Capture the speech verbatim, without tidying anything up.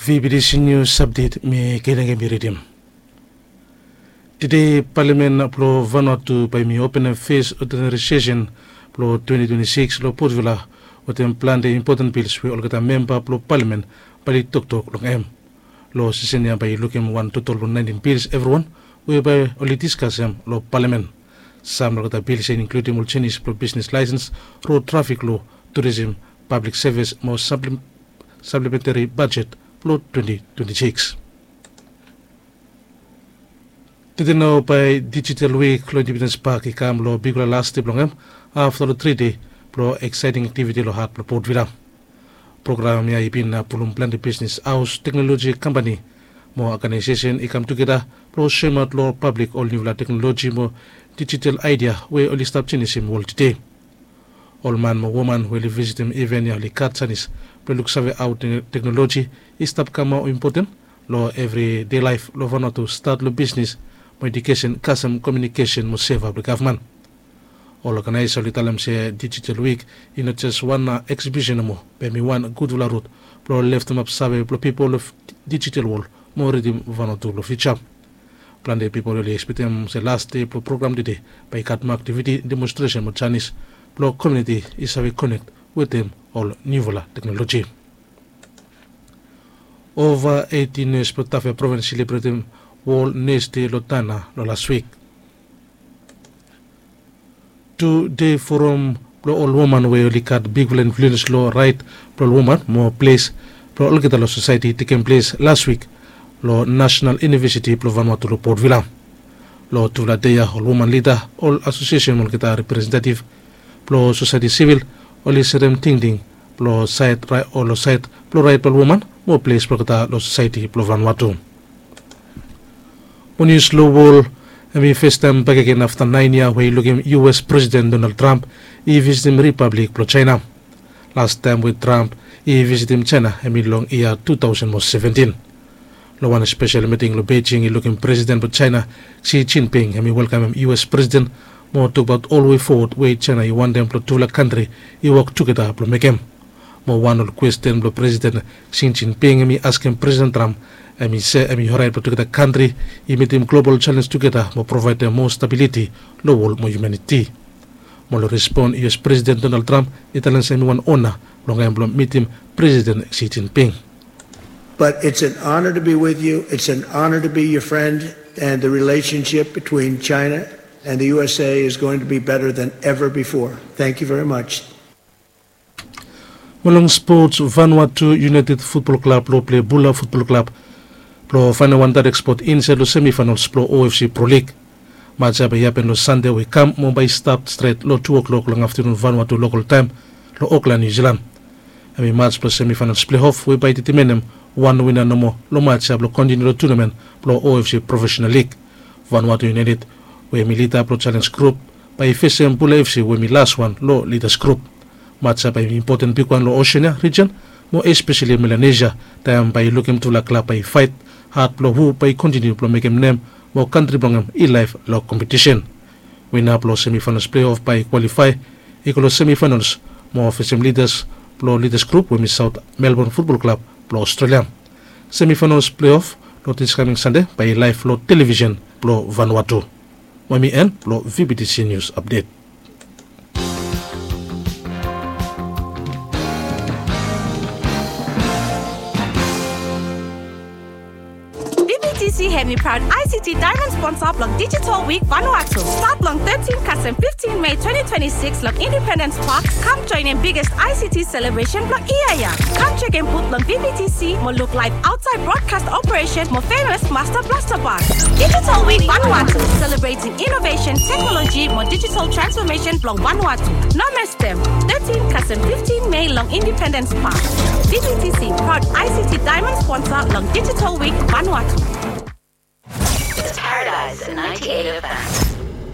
V B T C News Update, mi Kenenge mi ridim. Tede palamen blong Vanuatu bae mi openem fes odinari sesen blong twenti twenti sikis long Port Vila, wetem plante impoten bils we olgeta memba blong palamen bae oli toktok long hem. Long sesen ya bae yu lukim wan totol blong naentin bils evriwan we bae oli diskasem long palamen. Sam long olgeta bils ya i inkludim ol jenis blong bisnes laesens, rod trafik loa, turisem, pablik sevis mo saplementari bajet blong twenti twenti sikis. Tede nao bae Digital Week long Independens Pak i kam long bigfala las dei blong hem afta long tri dei blong eksaeting aktiviti long hat blong Port Vila. Program ya i bin pulum plante bisnes haos, teknoloji kampani mo oganaesesen i kam tugeta blong soemaot long pablik ol niufala teknoloji mo dijital aedia we oli stap jenisim wol tede. Ol man mo woman we oli visitim iven ya oli gat janis blong luksave hao teknoloji i stap kam moa impoten long evri dei laef long Vanuatu, stat long bisnes mo ejukesen kasem komiunikesen mo seva blong gavman. Ol oganaesa oli talem se Digital Week i no jes wan eksibisen nomo, be hem i wan gudfala rut blong leftemap save blong pipol long dijital wol mo ridim Vanuatu long fiuja. Plante pipol oli ekspektem se las dei blong program tede bae i gat moa aktiviti, demonstresen mo janis blong komiuniti i save konek wetem ol niufala teknoloji. Ova eiti nes blong Tafea provins i selebretem Wol Nes Dei long Tana long las wik. Tudei foram blong ol woman we oli gat bigfala influens long raet blong ol woman mo ples blong olgeta long sosaeti i tekem ples las wik long Nasenal Iunivesiti blong Vanuatu long Port Vila. Long tufala dei ya ol woman lida, ol asosiesen mo olgeta representetiv blong sosaeti sivil oli serem tingting blong saed blong raet blong ol woman mo ples blong olgeta long sosaeti blong Vanuatu. Mo nius long wol, hem i fastaem bakegen afta naen yia we i lukim U S Presiden Donald Trump i visitim Ripablik blong Jaena. Lastaem we Trump i visitim Jaena hem i long yia tu taosen mo seventin. Long wan spesel miting long Beijing i lukim Presiden blong Jaena Xi Jinping hem i welkamem U S Presiden mo tokbaot ol we fowod we Jaena i wantem blong tufala kantri i wok tugeta blong mekem. Mo wan ol kwesten blong Presiden Xi Jinping hem i askem Presiden Trump hem i se hem i oraet blong tugeta kantri i mitim global jalenj tugeta mo provaedem moa stabiliti long wol mo hiumaniti. Mo long respon U S Presiden Donald Trump i talem se hem i wan ona blong hem blong mitim Presiden Xi Jinping. But it's an honor to be with you. It's an honor to be your friend. And the relationship between China and the U S A is going to be better than ever before. Thank you very much. Mo long spots, Vanuatu United Futbol Klab long plei Bula Futbol Klab blong faenem wan daerek spot insaed long semifaenals blong O F C Pro Lig. Match ya bae i hapen long Sande we i kam mo bae i stat stret long tu o'klok long aftanun Vanuatu lokol taem long Okland, Niu Silan. Hem i match blong semifaenals pleiof we bae i detemenem wan wina nomo long match ya blong kontiniu long tunamen blong O F C Profesenal Lig. Vanuatu United we hem i lida blong jalenj grup bae i fesem Bula F C we hem i laswan long lidas grup. Match ya bae i impoten bigwan long Oseania rijen mo espeseli Melanesia, taem bae i lukim tufala klab bae i faet had blong hu bae i kontiniu blong mekem nem mo kantri blong hem i laef long kompetisen. Wina blong semifaenals pleiof bae i kwalifae i go long semifaenals mo fesem lidas blong lidas grup we hem i Saot Melbon Futbol Klab blong Ostrelia. Semifaenals pleiof long dis kaming Sande bae i laef long televisen blong Vanuatu. Mo hem i en blong V B T C Nius Apdet. V B T C hem i praod I C T daemon sponsa blong Digital Week Vanuatu. Stat long tetin kasem fiftin Mei twenti twenti sikis long Independens Pak, kam joenem biggest I C T selebresen blong yia ya. Kam jekem but long V B T C mo luk laef aotsaed brodkas operesen mo femes Master Blaster Band. Digital Week Vanuatu, selebretem inovesen, teknoloji mo dijital transfomesen blong Vanuatu. No mestem, tetin kasem fiftin Mei long Independens Pak. V B T C, praod I C T daemon sponsa long Digital Week Vanuatu. Paradise ninety-eight F M.